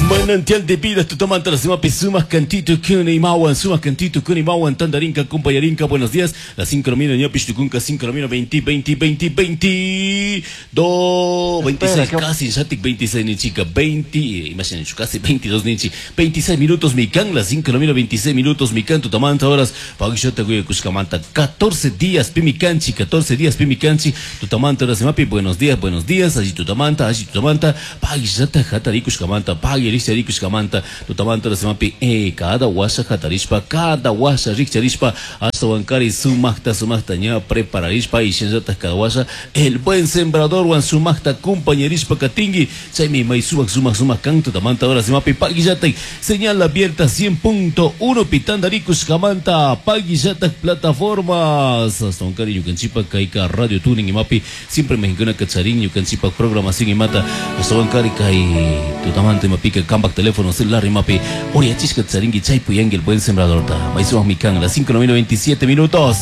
Manantial de vida tutamanta la sumak cantito kunimawan, sumak cantito kunimawan, tandarinka, kumpayarinka, buenos días. Las 5 de la mañana, tukunka, 5 de la mañana, 20, 20, 20, 22, 26, casi, shatik 26 ni chica, 20, imagínense, casi 22 ninchi, 26 minutos mi can, las 5 de la mañana, 26 minutos mi can, tutamanta horas, pagishota kushkamanta, 14 días pimicanchi, 14 días pimicanchi, tutamanta horas mapi, buenos días, allí tutamanta, allí tutamanta, pagishata hatarikushkamanta, pagirishtarikushkamanta, tutamanta horas mapi, cada washa hatarishpa, cada washa rikcharishpa, hasta wankari sumakta, sumakta ña prepararishpa, y shinllata cada washa, el buen sembrador wan sumakta compañerishpa katingi, chaymi may sumak sumak sumak kan, tutamanta horas mapi, pagillata, señal abierta 100.1 pitandarikus kamanta, pagillata plataformas, hasta wankari ñukanchipa kayka radio tuning imapi, siempre mexicana kacharin ñukanchipa programación imata, hasta wankari kay tutamanta imapika kampak teléfono celular imapi, oriachishka charingi chaypu yangi el buen sembrador ta, may sumak mikan, las 5 de la mañana, 27 minutos.